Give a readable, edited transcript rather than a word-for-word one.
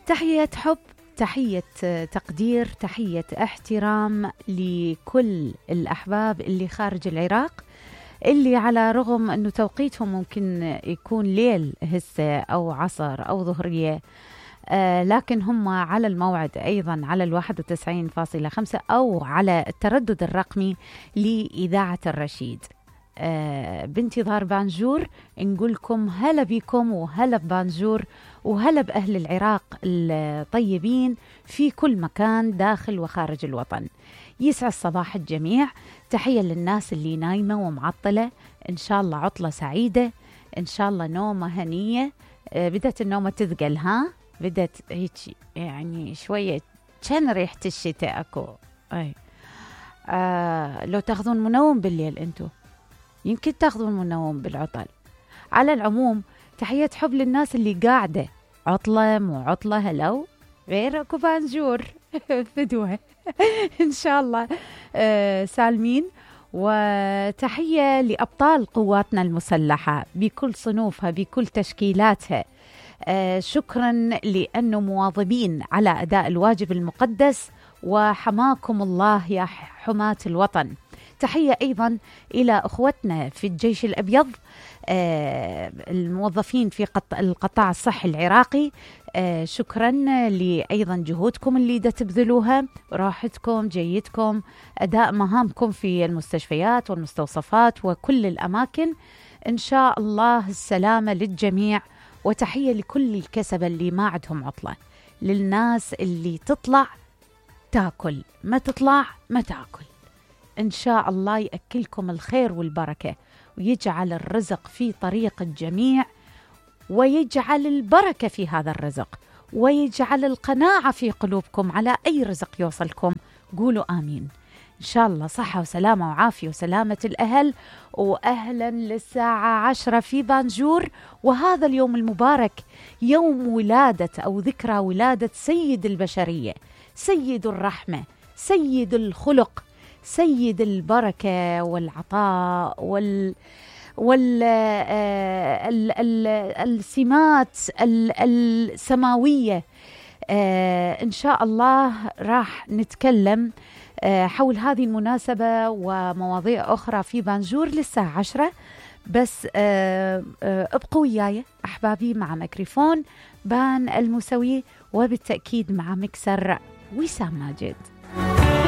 تحية حب، تحية تقدير، تحية احترام لكل الأحباب اللي خارج العراق، اللي على رغم أنه توقيتهم ممكن يكون ليل هسه أو عصر أو ظهرية، لكن هم على الموعد أيضا على 91.5 أو على التردد الرقمي لإذاعة الرشيد. بانتظار بانجور، نقولكم هلا بكم وهلا ببانجور وهلا بأهل العراق الطيبين في كل مكان داخل وخارج الوطن. يسعد صباح الجميع. تحية للناس اللي نايمة ومعطلة، إن شاء الله عطلة سعيدة، إن شاء الله نومة هنية. بدت النومة تثقل، ها بدت هيك يعني شوية، كان ريحة الشتاء أكو. أي لو تاخذون منوم بالليل أنتو، يمكن تاخذون منوم بالعطل. على العموم تحية حب للناس اللي قاعدة عطلة مو عطلة، هلو غير اكو بانجور فدوة ان شاء الله سالمين. وتحية لأبطال قواتنا المسلحة بكل صنوفها بكل تشكيلاتها، شكرا لأنه مواظبين على أداء الواجب المقدس، وحماكم الله يا حماة الوطن. تحية أيضا إلى أخوتنا في الجيش الأبيض، الموظفين في القطاع الصحي العراقي، شكرا لأيضا جهودكم اللي تبذلوها، راحتكم، جيدكم، أداء مهامكم في المستشفيات والمستوصفات وكل الأماكن. إن شاء الله السلامة للجميع. وتحية لكل الكسبة اللي ما عندهم عطلة، للناس اللي تطلع تاكل، ما تطلع ما تاكل. إن شاء الله يأكلكم الخير والبركة، ويجعل الرزق في طريق الجميع، ويجعل البركة في هذا الرزق، ويجعل القناعة في قلوبكم على أي رزق يوصلكم. قولوا آمين. إن شاء الله صحة وسلامة وعافية وسلامة الأهل. وأهلا للساعة 10 في بانجور، وهذا اليوم المبارك، يوم ولادة أو ذكرى ولادة سيد البشرية، سيد الرحمة، سيد الخلق، سيد البركة والعطاء السمات السماوية. إن شاء الله راح نتكلم حول هذه المناسبة ومواضيع أخرى في بانجور للساعة 10. بس ابقوا وياي أحبابي مع ميكروفون بان الموسوي، وبالتأكيد مع مكسر وسام ماجد.